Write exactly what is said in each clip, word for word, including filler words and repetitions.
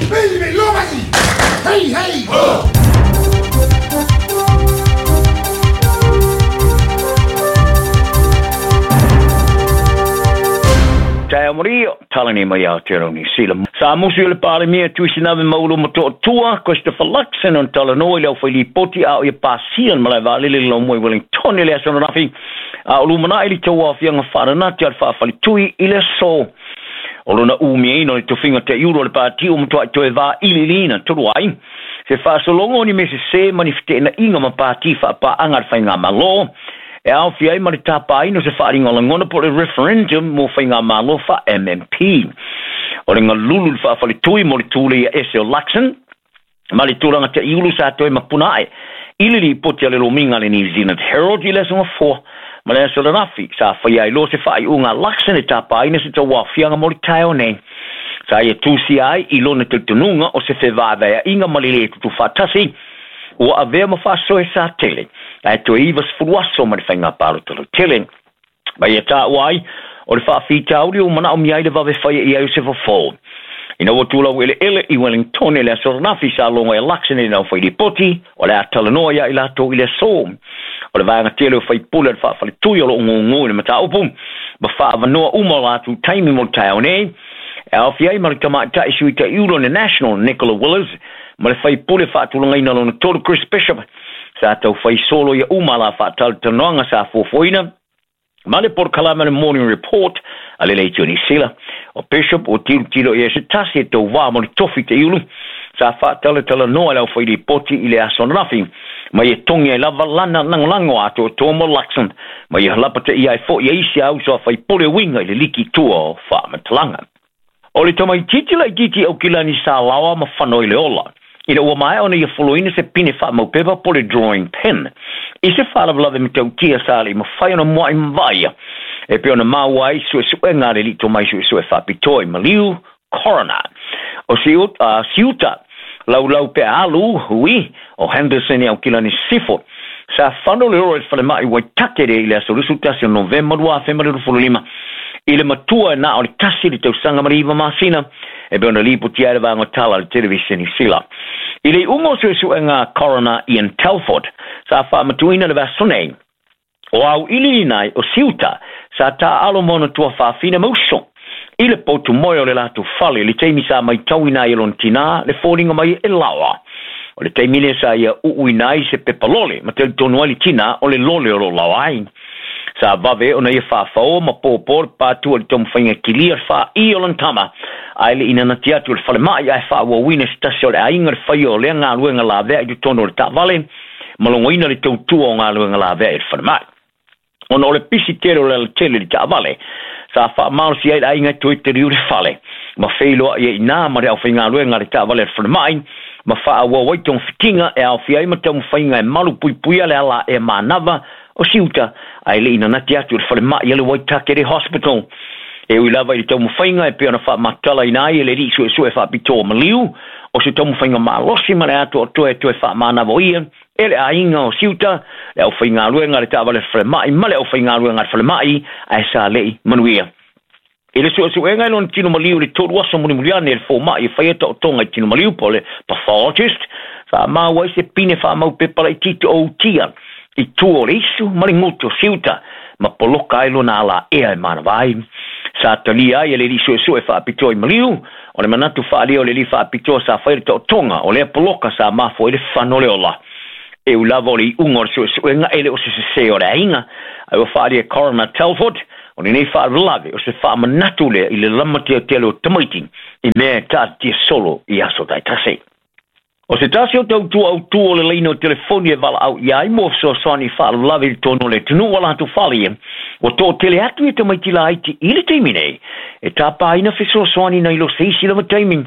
Hey, hey! Oh! Tae Maria, talani mai Aotearoa Niu Sila. Sa musu i le Palemia Tuisinave Maulu Matoatua, Christopher Luxon on talanoa i le aufailipoti a o ia pasia le malae vaalele le laumua i Wellington i le aso ananafi. A o lumanai le tauaofiaga faaananati a le faafalitui i le aso. O lona umiaina o le tofiga taiulu o le pati o matuai toe vailiiliina tolu ai. Se faasologa o ni mea sesē ma ni feteenaiga ma pati faapaaga a le faigamalo. E aofia ai ma le tapaina o se faaaliga o lagona po o le referendum mo faigamalo faa M M P. O le galulu le faafalitui mo le tule ia ese o Luxon ma le tulaga taiulu sa toe mapuna ae i le lipoti a le lomiga a le New Zealand Herald i le aso gafoa ma le aso lanafi sa faia ai loa se faaiuga a Luxon e tapaina se tauaofiaga mo le taeao nei. Sa ia tusia ai i lona talitonuga o se fevaevaeaiga ma le lē tutufaatasi ua avea ma faasoe sa tele ae toe iva sefulu aso ma le faiga palota lautele. Ma ia taua ai o le faafitauli ua manaomia ai le vave faia i ai o se fofo. Ina ua tulau eleele i Wellington i le aso ananafi sa logo e Luxon i le aufailipoti o le a talanoa ia i latou i le aso. O le vaega tele o faipule o le faafalitui o loo gogō i le mataupu ma faavanoa uma o latou taimi mo le taeao nei. E aofia ai ma le tamaitai sui taiulu o le National Nicola Willis ma le faipule faatulagaina lona tolu Chris Bishop sa taufai solo ia uma la faatalatalanoaga sa fuafuaina ma le polokalame le Morning Report a le Leitio Niu Sila. O Bishop ua tilotilo i ai se tasi e tauvā mo le tofi taiulu sa faatalatalanoa i le aufailipoti i le aso ananafi ma ia togi ai lava lana lagolago atoatoa mo Luxon ma ia halapataia ai fo'i e isi a uso a faipule uiga i le liki tua o faamatalaga. O le tamaititi laitiiti Aukilani sa laoa ma fano i le ola. Ina ua maea ona ia foloina se pine faamaupepa po le drawing pin. I se faalavelave matautia sa le mafai ona mua'i mavaia. E pei ona maua ai suesuega a le alii tomai suesue faapitoa i maliu, coroner. O siuta, uh, siuta laulau pe alu hui o Henderson i Aukilani Sifo. Sa fano le oro i le falemai Waitakere i le aso lusu tasi o Novema lua afe ma le luasefulu lima. I le matua e na o le tasi le tausaga ma le iva masina e pei ona lipotia ai le vaega tala a le televiseni Sila. I le iuga o suesuega coroner Ian Telford sa faamatuina le vaaso nei. O au iliina ai o siuta sa taaalo ma ona tuafaafine ma uso. I le potu moe o le latou fale le taimi sa maitauina ai e lona tinā le foliga mai e laoa. O le taimi lea sa ia uuina ai se pepa lole ma talitonu ai le tinā o le lole o lo laoa ai. Sa vave ona ia faafaoa ma pōpō le pātua le taumafaiga kilia le faaī o lona tama ae le inanati atu o le falemai ae faaauauina se tasi o le aiga le faia o lea galuega lavea i totonu o le taavale ma logoina le tautua o galuega lavea i le falemai. Ona o le pisi tele o le alatele i le taavale sa faamalosi ai le aiga e toe taliu le fale ma feiloai ai inā ma le aufaigaluega a le taavale a le falemai ma faaauau ai togafitiga e aofia ai ma taumafaiga e malu puipuia le ala e manava o siuta ae le inanati atu o le falemai a le Waitakere Hospital. E ui lava i le taumafaiga e pei ona faamatalaina ai e le alii suesue faapitoa maliu o se taumafaiga malosi ma le atoatoa e toe faamanava ia e le aiga o siuta le aufaigaluega a le taavale falemai ma le aufaigaluega a le falemai ae sa le'i manuia. I le suesuega e lona tino maliu i le tolu aso mulimuliane e le fōma'i e faia taotoga i tino maliu po o le pathologist sa maua ai se pine faamaupepa laitiiti o utia i tua o le isu ma le gutu o siuta ma poloka ai lona alaea e manava ai. Sa talia ai e le alii suesue faapitoa i maliu o le manatu faaalia o le alii faapitoa sa faia le taotoga o lea poloka sa mafua ai le fano o le ola. E ui lava o le iuga o le suesuega e le o se sesē o le aiga ae ua faaalia e Coroner Telford o lenei faalavelave o se faamanatu lea i le lamateatele o tamaiti i mea e taatitia solo i aso taitasi. O se tasi o tautua autū o le laina o telefoni e valaau ia ai mo fesoasoani faalavelave i totonu o le atunuu a latou fale ua toatele atu i tamaiti laiti i le taimi nei e tapaina fesoasoani nai lo se isi lava taimi.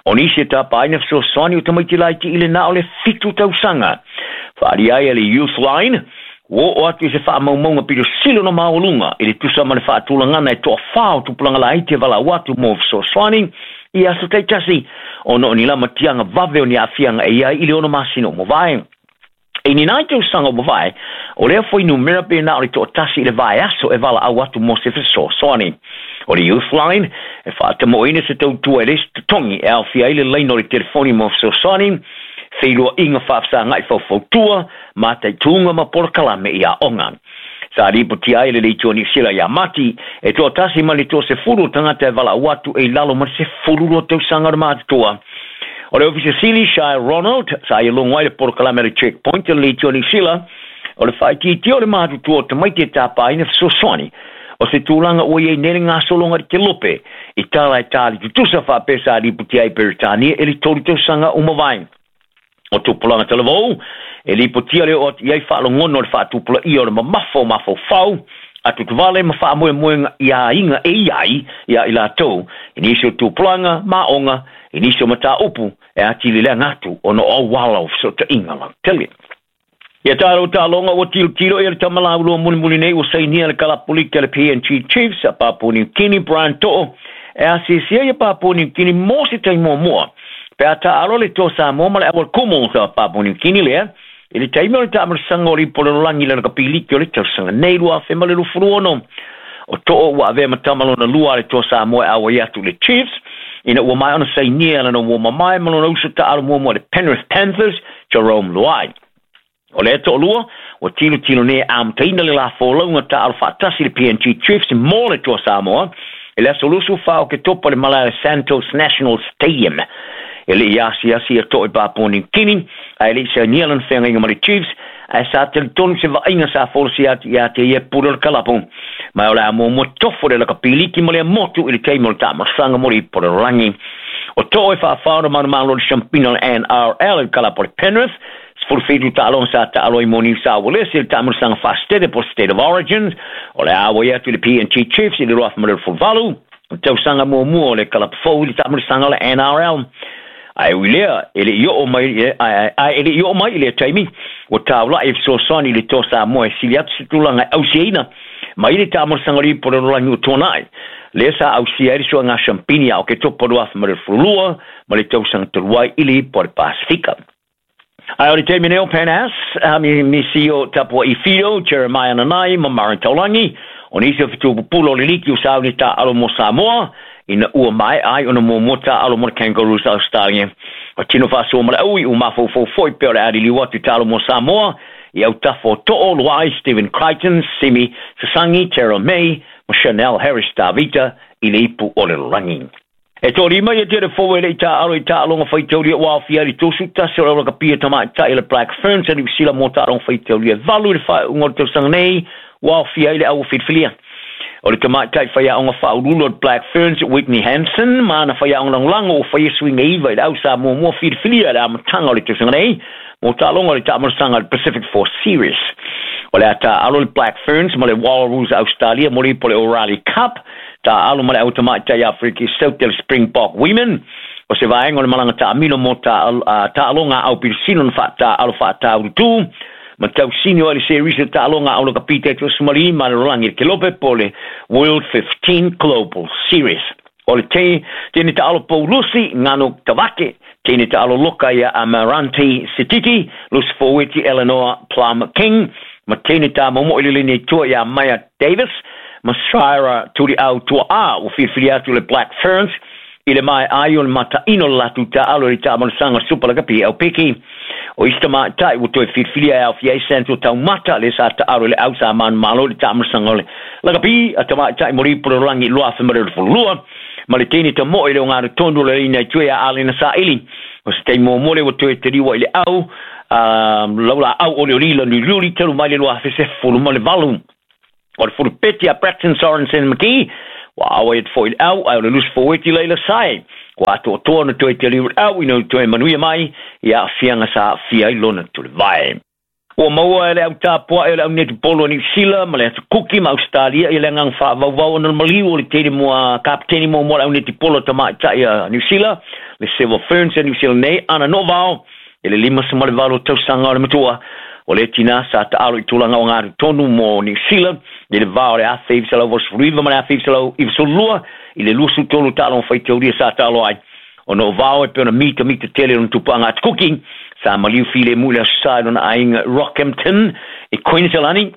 O nisi e tapaina fesoasoani o tamaiti laiti i le na o le fitu tausaga. Faaalia ai e le Youth Line ua oo atu i se faamaumauga pito sili ona maualuga i le tusa ma le faatulagana e toafā o tupulaga laiti e valaau atu mo fesoasoani i aso taitasi ona o ni lamatiaga vave o ni aafiaga e i ai i le ono masina o mavae. E ni nai tausaga ua mavae, o lea fuainumera pe na o le toʻatasi i le vaiaso e valaau atu mo se fesoasoani. O le Youth Line e faatamoʻoina se tautua e le isi totogi e aofia ai le laina o le telefoni mo fesoasoani, feiloaiga faafesagaʻi faufautua, mataituga ma polokalame i aoga. Sa lipotia ai le Leitio Niu Sila ia Mati e toʻatasi ma le toasefulu o tagata e valaau atu e i lalo ma le sefulu lua tausaga o le matutua. O le Ofisa Sili Shai Ronald sa ia logo ai le polokalame a le Checkpoint o le Leitio Niu Sila o le faaitiitia o le matutua o tamaiti e tapaina fesoasoani o se tulaga ua iai nei le gasologa i le kelope i tala e tali tutusa faapea sa lipotia ai Peretania i le tolu tausaga ua mavae. O tupulaga talavou e lipotia le oo atu i ai faalogona o le faatupulaia o le mamafa o mafaufau atutuvale ma faamoemoega i aiga e i ai ia i latou i nisi o tupulaga ma aoga i nisi o mataupu e atili leaga atu ona o auala o fesootaiga lautele. Ia tatou taaloga ua tilotilo ia le tamalaulua mulimuli nei ua sainia le kalapuliki a le P N G Chiefs a Papua New Guinea Brian To'o e asiasia ia Papua New Guinea mo se taimi muamua pe a taalo le Toa Samoa ma le auala kumu sa Papua New Guinea lea i le taimi o le taamalosaga o le ipu o le lalolagi i lana kapiliki o le tausaga nei lua afe ma le luafulu ono. O To'o ua avea ma tama lona lua a le Toa Samoa e auai atu i le Chiefs ina ua maea ona sainia lana ua mamae ma lona uso taalo muamua i le Penrith Panthers Jerome Luai. O lea toʻalua ua tilotilo nei e amataina le lafolauga taalo faatasi i le P N G Chiefs mo le Toa Samoa i le aso lusu fa o Ketopa i le malae o le Santos National Stadium. E le i asiasi ia To'o i Papua New Guinea ae le i sainia lana feagaiga ma le Chiefs ae sa talitonu se vaaiga sa folasia atu ia te ia pule o le kalapu. Ma o le a muamua tofo le lakapiliki ma le motu i le taimi o le taamalosaga mo le ipu o le lalolagi. O To'o e faafaona manumalo o le siampina o le N R L i le kalapu o le Penrith sefulu fitu taaloga sa taalo ai mo New South Wales i le taamalosaga faasitete po State of Origins. O le a auai atu i le P N G Chiefs i le lua afe ma le luasefulu valu o tausaga muamua o le kalapu fou i le taamalosaga o le N R L. Ae ui lea e le i oo mai ae e le i oo mai i lea taimi ua taulaʻi e fesoasoani i le Toa Samoa e sili atu se tulaga e ausiaina mai le taamalosaga o le ipu o le lalolagi ua tuanaʻi. Lea sa ausia ai le suaga siampini a o Ketopa lua afe ma le luafulu lua ma le tausaga talu ai i le ipu o le Pasifika. Ae o le taimi nei o Panas, mi misi o Tapua i Whiro, Jeremiah Nanai ma Maren Taulagi, o nisi o fetupupulo o le liki o sauni taalo mo Samoa, ina ua mae ai ona muamua taalo mo le Kangaroos Australia. O tino faasoa ma le aui ua mafaufau foi pe o le aliliu atu i taalo mo Samoa, i autafa o To'o, Luai, Stephen Crichton, Simi Sasangi, Terrell May, ma Chanel Harris Tavita i le ipu o le lalolagi. E toʻalima ia tele fou e le i taalo i taaloga faitaulia ua aofia ai le tosu tasi o le aulakapia tamaitai le Black Ferns a Niu Sila mo taaloga faitaulia e valu i le faaiuga o le tausaga nei ua aofia ai le au filifilia. O le tamaitai faiaoga faauluulu o le Black Ferns Whitney Hansen ma ana faiaoga lagolago ua faia suiga iva i le au sa muamua filifilia i le amataga o le tausaga nei mo taaloga o le taamalosaga o le Pacific Four Series. O le a taalo le Black Ferns ma le Wallaroos Australia mo le ipu o le O'Reilly Cup, taalo ma le au tamaitai Afrika South le Springbok Women. O se vaega o le malaga taamilo mo taaloga au pilisino na faataalo faataulutu ma tausini o ai le series o taaloga au lakapita e tuasumali ma le lalolagi i le kelope po le World fifteen Global Series. O le te tene taalo Paulusi Ngano Tavake, tene taalo loka ia Amaranti Sititi, Lucy Foweti Eleanor Plum King, ma tene tā momo i le lini tua ia Maya Davis, ma Shira Turi au tua a ua filifili atu le Black Ferns i le mae ai o le mataino le latou taalo i le taamalosaga Super Lakapi au piki. O isi tamaitai ua toe filifilia e aofia ai Santo Taumata le sa taalo i le au sa manumalo i le taamalosaga o le lakapi a tamaitai mo le ipu o le lalolagi i lua afe ma le luafulu lua ma le tini tamoʻo i le ogatotonu o le laina i tua ia Alena Saili. O se taimi muamua lea ua toe taliua i le au laula au o le olila luliuli talu mai le lua afe sefulu ma le valu. O le fulupeti a Braxton Sorensen McGee ua auai atu foi i le au ae o le lusi foueti laila sae ua atoatoa na toe taliu i le au ina ua toe manuia mai i aafiaga sa aafia ai lona tulivae. Ua maua e le au tapuaʻe o le au netipolo a Niu Sila ma le atu Kuki ma Australia i le agaga faavauvau ona le maliu o le tele moa kapeteni muamua le au netipolo tamaitai a Niu Sila le Silver Ferns a Niu Sila nei ana Novao i le lima ma le valu tausaga o le matua. O le tina sa taalo i tulaga o gatotonu mo Niu Sila i le va o le afe iva selau valusefulu iva ma le afe iva selau ivasefulu lua i le luasefulu tolu taaloga faitaulia sa taalo ai. Ona o vao e pe ona mita mita tele ona tupuaga atu Kuki Sa maliu filemu i le Aso Sa i lona aiga Rockhampton i Queensland,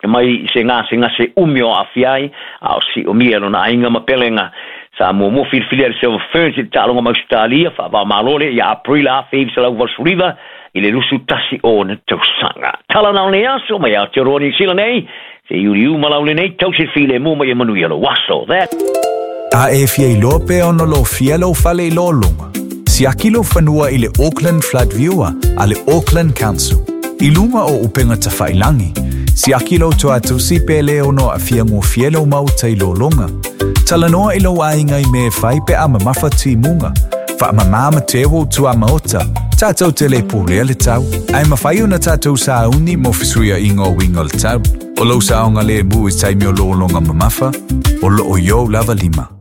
e mai se gasegase umi o aafia ai a o siomia e lona aiga ma pelega. Sa muamua filifilia e le Silver Ferns i le taaloga ma Ausetalia faava-o-Malo lea ia Aperila nineteen eighty-nine i le twenty-one o ona tausaga. Tala na o lenei aso mai Aotearoa Niu Sila nei, se iuliu ma lau lenei tausi le filemu ma ia manuia lou aso. That A e fia iloa pe ona lofia lou fale i lologa. Siaki lou fanua i le Auckland Flood Viewer a le Auckland Council. I luga o upega tafailagi. Siaki lou tuatusi pe le ono aafia gofie lou maota i lologa. Talanoa i lou aiga i mea e fai pe a mamafa timuga. Faamamā ma teu ou tuamaota. Tatou te le pulea le tau. Ae mafai ona tatou sauni mo fesuiaiga o uiga o le tau. O lou saogalemu i taimi o lologa mamafa, o loo i ou lava lima.